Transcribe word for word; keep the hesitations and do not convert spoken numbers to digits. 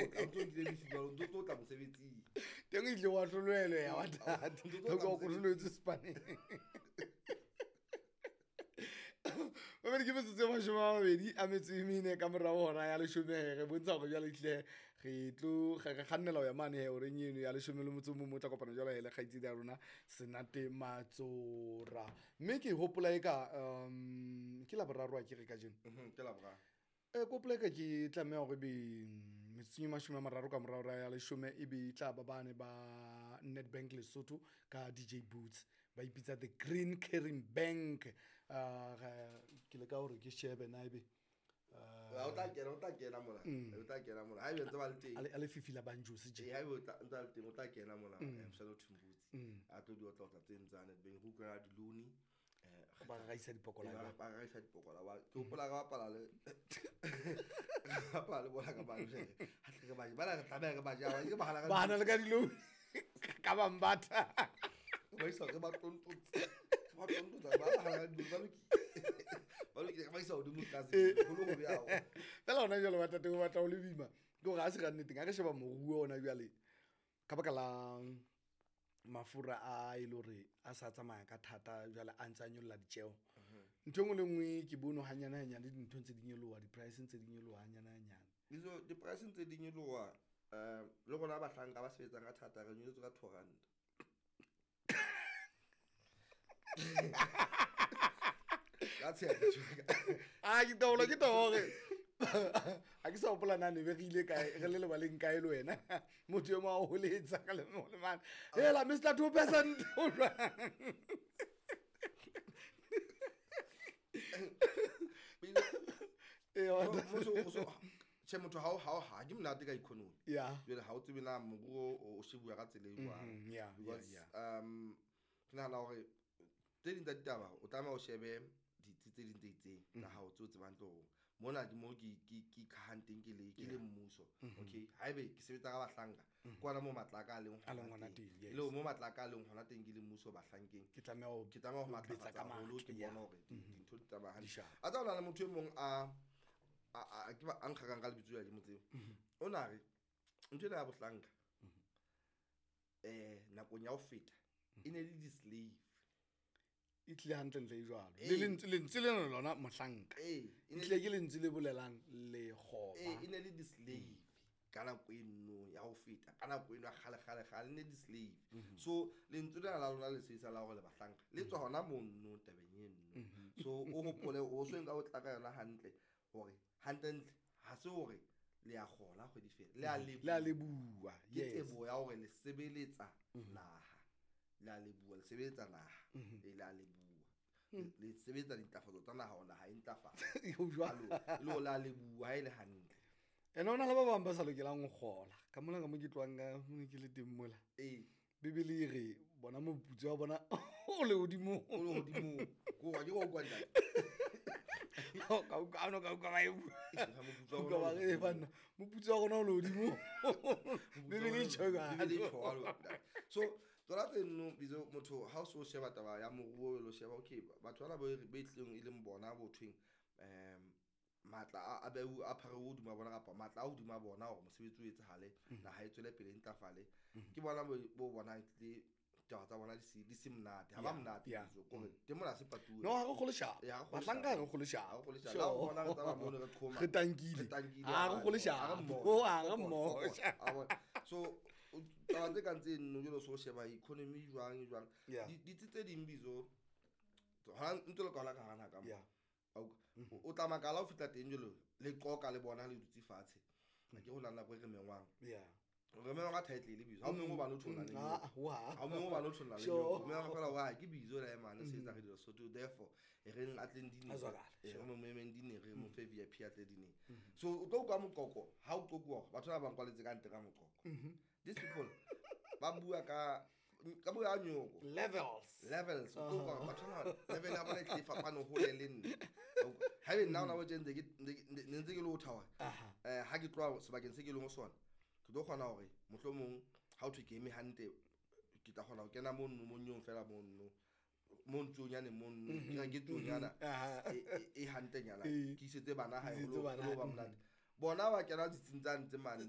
tla o ntso nkile leave jwalo, o ntso tlo tla mosebetsing. Teng o ile wa hlolohelwa ya wa thata. Ntso tlo tla O hlolohelwe Spaneng. Mamedi ke metsotso e mashome a mabedi a metso e mene ka morao hora ya leshome he, re bontsha hore jwale ehlile re tlo re kgannela ho ya mane he horeng eno ya leshome le motso o mong, o tla kopana jwale he le kgaitsedi ya rona Senate Matsora. Mme ke hopola eka um ke Laboraro a ke re kajeno. Mhm, ke Laboraro. Eh, ke hopola eka ke tlameha hore ebe metsotsong e mashome a mararo ka morao hora ya leshome ebe e tla ba bane ba Nedbank Lesotho ka D J Boots. Ba ipitsa the Green Caring Bank. Uh, ke leka hore ke shebe na ebe, uh, Ha o tla kena, o tla kena mona. O tla kena mona. Ha ebe ntse ba le teng. A le, a le fifi la Banjosi tje. Ee, ha ebe o tla, ntse a le teng, o tla kena mona, eh, Mshana Thumbutsi. A tlo di otla otla tse ntse a Nedbank. Re utlwa di-loan. Eh, Ba raisa dipokola ba ba. ba raisa dipokola ba. Ke hopola re bapala le re bapala le bona ka ba jere. Ha tle re ba je. Bana re tlameha re ba je. Ba ke ba hana ka Ba hana le ka di-loan. Ka ba mbatha. Ba isa re ba tontotse. Re ba tontotsa, ba hana ka di-loan, ba lokile. Ba lokile, re ba isa hodimo tlase. Ho le hobe haholo. Fela hona jwale ba tate o batla ho le boima. Ke hore ha se ka nneteng, ha re sheba moruo ona jwale, ka baka la mafura a e le hore a sa tsamaya ka thata jwale a ntse a nyolla ditjeho. Ntho e nngwe le nngwe ke bone hanyane hanyane dintho ntse di nyoloha, di-price ntse di nyoloha hanyane hanyane. Dijo, di-price ntse di nyoloha, eh, le rona bahlanka ba sebetsang ka thata re nyolotswe ka two rand. Ka tsheha ke tjho. Ah, ke taolo, ke taolo hore ha ke sa hopola na ne be re ile kae, re le lebaleng kae le wena. Motho e mong a o holetsa ka le mo le mane. Hela, Mister two percent, o jwang? Eh, wa Mo-, motho o so, tjhe, motho ha o, ha o, ha ke monate ka economy. Yeah. Jwale ha o tsebe na moruo o, o shebuwa ka tsela e jwang. Mm-hmm, yeah, yeah, Because, yeah. um, ke nahana hore tse ding tsa ditaba o tlameha o shebe ditsi tse ding tse itseng tsa Mm-hmm. hao tseo tsebang hantle hore mona ke mo ke, ke, ke ikhahang teng ke le, ke le Yeah. mmuso. Mm-hmm. Okay, haebe ke sebetsa ka bahlanka, Mm-hmm. ke hona moo matla a ka a leng A leng hona hona teng. teng, yes. E le mo matla a ka a leng hona teng ke le mmuso bahlankeng. Ke tlameha ho Ke tlameha ho ho betsa matlafatsa ka haholo, matla, ke yeah. bona hore di-, Mm-hmm. dintho di tsamaya hantle. Di sharp. A tseba ho na le motho e mong a, a, a, ke ba, a nkgakang ka lebitso la ke mo tsebe. Mm-hmm. O na re, ntho ena ya bohlanka, Mm-hmm. eh, nakong ya ho feta, e ne le di-slave. E tlile hantlentle e jwalo. Ee. Le lentswe, lentswe lena lona mohlanka. Ee, e E ne tlile le ke lentswe le bolelang lekgoba. Ee, e ne le di-slave ka nako eno ya ho feta, ka nako eno ya kgale, kgale, kgale, e ne di-slave. Mm-hmm. So lentswe lena la lona le sebedisa la hore le bahlanka, le tswa hona mono tabeng eno. Mm-hmm. So o hopole, o so nka o tla ka yona hantle hore hantlentle ha se hore le a kgola kgwedi fela, le a Mm-hmm. Le a leboha. leboha, Ke yes. teboho ya hore le sebeletsa Mm-hmm. naha. Le a leboha, le sebeletsa naha. Mm-hmm. E le a leboha. Mm. Le sebetsa dintlafatso tsa naha hore naha e ntlafale. Ho jwalo. Alo, e le hore le a leboha ha e le hantle. Ene ho na le ba bang ba sa lokelang ho kgola. Ka mona ka mo ke tlohang ka mo ke le teng mola. Ee. Bibele e re bona moputso wa bona o le hodimo. O le hodimo. Ko wa ke go utlwa ntate. Ka utlwa, ha o no ka utlwa ba e bua. Ha moputso wa Utlwa bona ba o le re, hodimo. banna, moputso wa rona o le hodimo. Bibele e tjho jwalo. Bibele e tjho jwalo, ntate. So tsona tse nno, bitso motho ha o so sheba taba ya moruo, o lo sheba, okay, batho bana ba e re, ba e tlileng e leng bona bo thweng, um, matla a, a beu, a phare hodima bona kapa matla a hodima bona hore mosebetsi o etsahale, Mm. naha e tswele pele e ntlafale. Mm. Ke bona bo, bo bonang tlile taba tsa bona di se, di se monate, ha ba Yeah, monate, yeah. bitso, kore teng mona ha se patuwe. No, ha re kgole sharp. Eh, ha re kgole Bahlanka ha re sharp. kgole sharp. Ha re kgole sharp. Sure. La ho bona re tsamaya mono re qhoma. Re tankile. Re tankile, Ha re ha kgole re sharp. mmoho. Oh, ha re Fokol, mmoho. fokol. Ha bona. So, o, taba tse kang tse nno, jwalo so sheba economy jwang, jwang. Yeah. Di, ditsi tse ding bitso, hona ntse le ka hona ka hara naha ka mo. Yeah. A utlwa? O, o tla makala ha o fihla teng jwalo, le qoqa le bona le dutse fatshe. Ha ke ho na nako e re mengwang. Yeah. Re mengwa ka title le bitso. Ha o mengwe hobane o thola le Mm, nyoko. ah, wa. Ha o mengwe hobane o thola le Sure. nyoko. O mengwa fela hore, ah, ke bitso la emane, se etsa re dilo Sotho. Therefore, e reng a tleng dineng. A zwakale, E re sure. mo memeng dineng, re mo fe V I P a tle dineng. So, o tlo utlwa moqoqo, ha o qoquwa, batho ba bang kwaletse ka ntle ka moqoqo. Mm-hmm. These people, ba bua ka, ka bua nyoko. Levels. Levels. O tlo utlwa batho ba level ya bona e tlile e fapane hole le nna. Haebe nna hona bo tje ntse ke, ntse ke, ne ntse ke le ho thaoha. Aha. Eh, ha ke tloha sebakeng se ke leng ho sona, ke tlo kgona hore mohlomong ha ho thwe ke eme hantle, ke tla kgona ho kena mono, monyong fela mono, mo ntsonyane mono, ke reke tsuonyana, Mm-hmm. Aha. e, e, e hantlenyana, Ee. ke isetse bana hae, Ke isetse ho lo, bana ho lo ba hae. monate. Bona ba kena ditsing tsa ntse mane.